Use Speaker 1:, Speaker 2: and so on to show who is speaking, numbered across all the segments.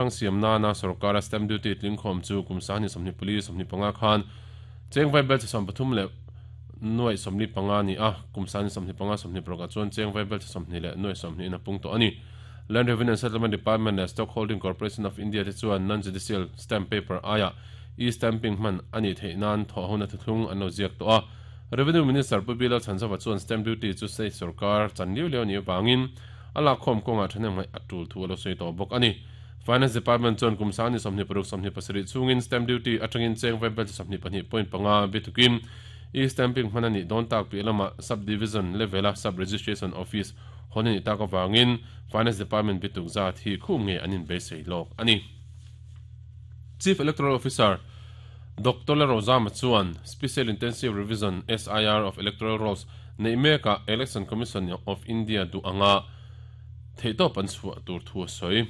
Speaker 1: Hrang siam nana sorkara stamp duty tlingkhawm chu kum 2024 25 khan cheng vai bel chi 33 leh nuaih 45 a ni a, kum 2025 26 ah chuan cheng vai bel chi 20 leh nuaih 20 in a pung tawh a ni. Land Revenue and Settlement Department leh Stock Holding Corporation of India te chuan non-judicial stamp paper aiah e-stamping hman a nih theih nan thawhhona thuthlung an lo ziak tawh a. Revenue Minister Pu Bilal Chhanzova chuan stamp duty chu state sorkar chan liau liau a nih avangin a lakkhawm kawngah thahnem ngaih a tul thu a lo sawi tawh bawk a ni. Finance Department chuan kum 2026 27 chhungin stamp duty atangin cheng vaibel chi 22.5 bitukin e-stamping hman a nih dawn tak piah lamah Sub-Division level-a Sub-Registration Office hawn a nih tak avangin Finance Department bituk zat hi khum ngei an inbeisei lawk a ni. Chief Electoral Officer Doctor Lalrozama chuan Special Intensive Revision, SIR, of Electoral Rolls neih mekah Election Commission of India duh anga theihtawp an chhuah tur thu a sawi.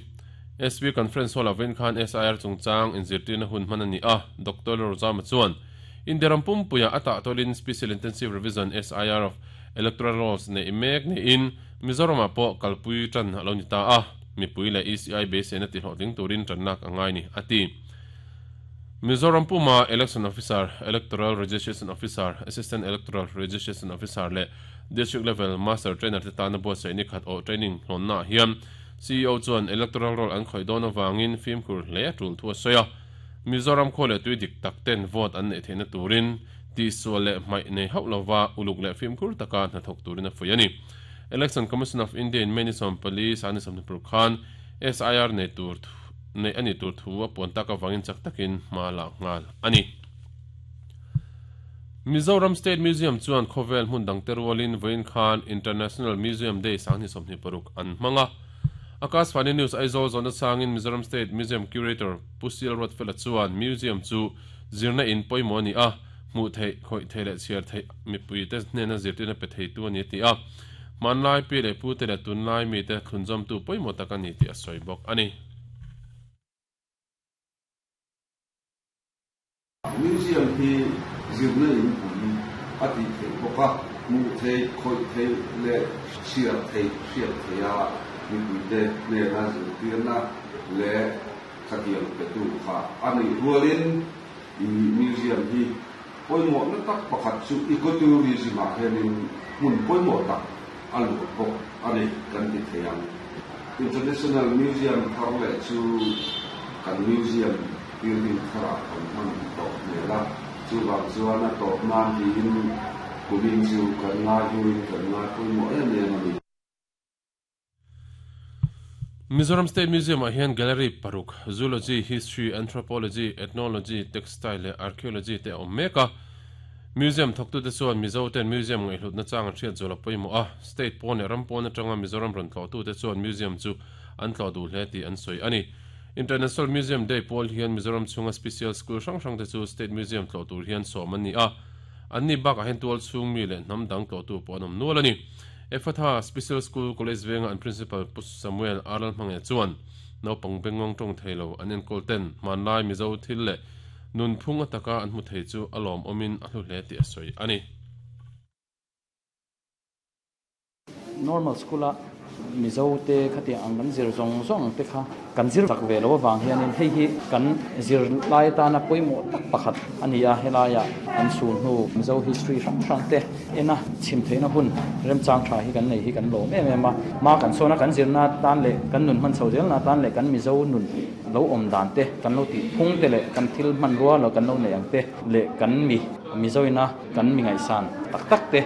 Speaker 1: SV Conference Hall-ah vawiin khan SIR chungchang inzirtirna hun hman a ni a, Doctor Lalrozama chuan India ram pumpuiah a tahtawlin Special Intensive Revision, SIR, of Electoral Rolls neih mek niin Mizoramah pawh kalpui tan a lo ni ta a, mipui leh ECI beiseina tihlawhtling turin tanlak a ngai ni, a ti. Mizoram puma Election Officer, Electoral Registration Officer, Assistant Electoral Registration Officer leh District Level Master Trainer te tana buatsaih ni khat awh training hlawnnaah hian CEO chuan Electoral Roll an khawih dawn avangin fimkhur hle a tul thu a sawi a. Mizoram khua leh tui dik tak ten vote an neih theihna turin tihsual leh hmaih nei hauh lova uluk leh fimkhur taka hnathawk turin a fuih a ni. Election Commission of India in May ni 14, 20 paruk khan SIR nei tur neih a nih tur thu a puan tak avangin chak takin hma lak nghal a ni. Mizoram State Museum chuan khawvel hmun dangte rualin vawiin khan International Museum Day 2026 an hmang a. Akashvani News Aizawl zawhna changin Mizoram State Museum Curator Pu Sil Ruatfela chuan Museum chu zirna in pawimawh a ni a, hmuh theih, khawih theih leh chhiar theih mipuite hnena zirtirna pe theitu a ni a ti a. Hmanlai pi leh pute leh tunlai mite thlunzawmtu pawimawh tak a ni tih a sawi bawk a ni.
Speaker 2: Museum hi zirna in pui a tih theih bawk a, hmuh theih, khawih theih leh chhiar theih hriat theih a mipuite hnena zirtirna leh khatiang petu kha a nih rualin i museum hi pawimawhna tak pakhat chu ecotourism ah hianin hmun pawimawh tak a luah bawk a ni kan ti thei ang. International Museum thar leh chu kan museum building tharah kan hman tawh hmel a, chuvang chuan a tawp nan tiin kumin chu kan ngai hnuin kan ngai pawimawh em em a ni.
Speaker 1: Mizoram State Museum-ah hian gallery paruk, Zoology, History, Anthropology, Ethnology, Textile leh Archaeology te a awm mek a. Museum thawktute chuan Mizo ten museum ngaihhlutna chang an hriat zual a pawimawh a, state pawn leh ram pawn atanga Mizoram rawn tlawhtute chuan museum chu an tlawh duh hle tih an sawi a ni. International Museum Day pawl hian Mizoram chhunga special school hrang hrangte chu state museum tlawh tur hian sawm an ni a, anni bakah hian tual chhung mi leh hnam dang tlawhtu pawh an awm nual a ni. Ephatha Special School College venga an Principal Pu Samuel Arlal Hmangaih chuan naupang bengngawng tawng thei lo an enkawl ten hmanlai Mizo thil leh nunphung ataka an hmu thei chu a lawmawmin a hlu hle tih a sawi a ni.
Speaker 3: Normal School a Mizo te khatiang ang kan zir zawng zawng te kha kan zir chak ve lo avang hianin hei hi kan zir lai atana pawimawh tak pakhat a ni a, helaiah an chhun hnu Mizo history hrang hrang te ena chhim theihna hun remchang tha hi kan nei hi kan lawm em em a, hma kan sawn a kan zirna atan leh kan nun hman chho zelna atan leh kan Mizo nun lo awm dan te kan lo tih phung te leh kan thil hmanrua lo kan lo neih ang te leh kan mi Mizo ina kan mi ngaihsan tak tak te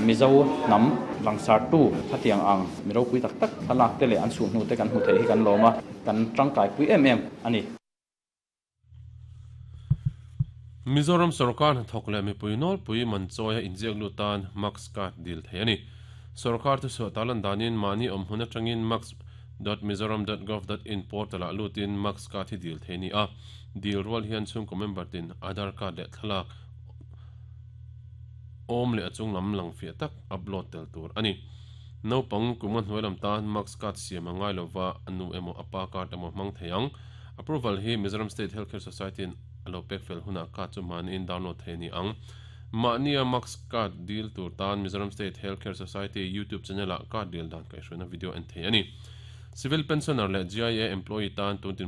Speaker 3: Mizo hnam langsartu khatiang ang mi ropui tak tak thlalak te leh an chhuhhnu te kan hmu theih hi kan lawm a, kan tangkaipui em em a ni.
Speaker 1: Mizoram sorkar hnathawk leh mipui nawlpui man chawia inziak lut tan Max card dil thei a ni. Sorkar thuchhuah tarlan danin mahni awm hmun atangin max dot mizoram dot gov dot in portal ah lutin Max card hi dil thei a ni a. Dil rual hian chhungkaw member tin Aadhaar card leh thlalak awm leh a chunglam lang fiah tak upload tel tur a ni. Naupang kum a hnuai lam tan Max card siam a ngai lova a nu emaw a pa card emaw hmang thei ang. Approval hi Mizoram State Healthcare Society in a lo pek fel hunah card chu mahniin download thei a ni ang. Mahnia Max card deal tur tan Mizoram State Healthcare Society YouTube channel ah card deal dan kaihhruaina video en thei a ni. Civil pensioner leh GIA employee tan tun tin.